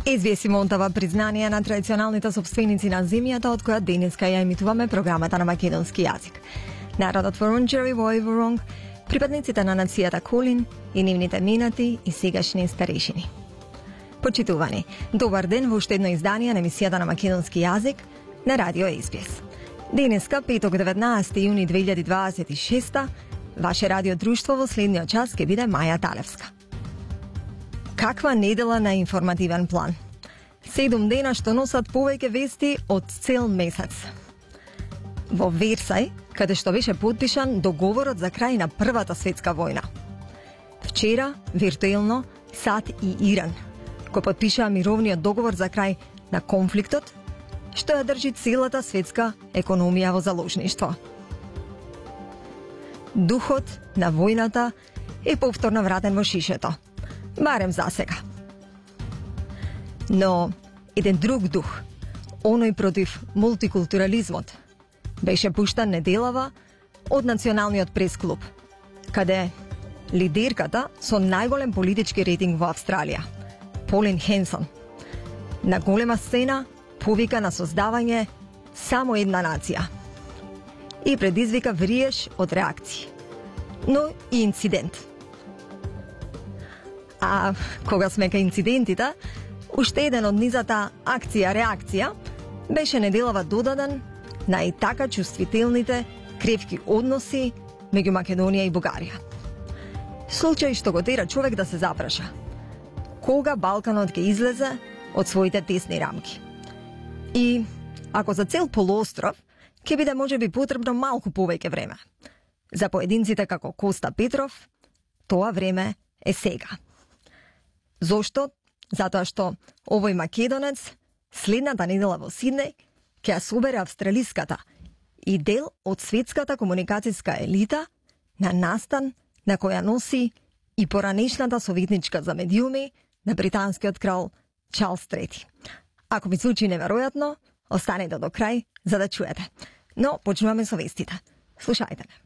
SBS им оддава признание на традиционалните собственици на земјата од која денеска ја емитуваме програмата на македонски јазик. Народот Вурунџери во Вурунг, припадниците на нацијата Кулин и нивните минати и сегашни старешини. Почитувани, добар ден во уште едно издание на емисијата на македонски јазик на Радио SBS. Денеска, петок 19 јуни 2026, ваше радио друштво во следниот час ќе биде Маја Талевска. Каква недела на информативен план? 7 дена што носат повеќе вести од цел месец. Во Версај, каде што беше подпишан договорот за крај на Првата светска војна. Вчера, виртуелно, САД и Иран го подпишаа мировниот договор за крај на конфликтот, што ја држи целата светска економија во заложништво. Духот на војната е повторно вратен во шишето, барем за сега. Но еден друг дух, оној против мултикултурализмот, беше пуштан неделава од Националниот пресклуб, каде лидерката со најголем политички рейтинг во Австралија, Полин Хенсон, на голема сцена повика на создавање само една нација и предизвика вриеш од реакции, но и инцидент. А кога сме кај инцидентите, уште еден од низата акција-реакција беше неделава додаден на и така чувствителните кревки односи меѓу Македонија и Бугарија. Случај што го тера човек да се запраша кога Балканот ќе излезе од своите тесни рамки. И ако за цел полуостров ќе биде можеби потребно малку повеќе време. За поединците како Коста Петров, тоа време е сега. Зошто? Затоа што овој македонец следната недела во Сиднеј ќе ја собере австралиската и дел од светската комуникацијска елита на настан на која носи и поранешната советничка за медиуми на британскиот крал Чарлс III. Ако ви звучи неверојатно, останете до крај за да чуете. Но почнуваме со вестите. Слушајте ме.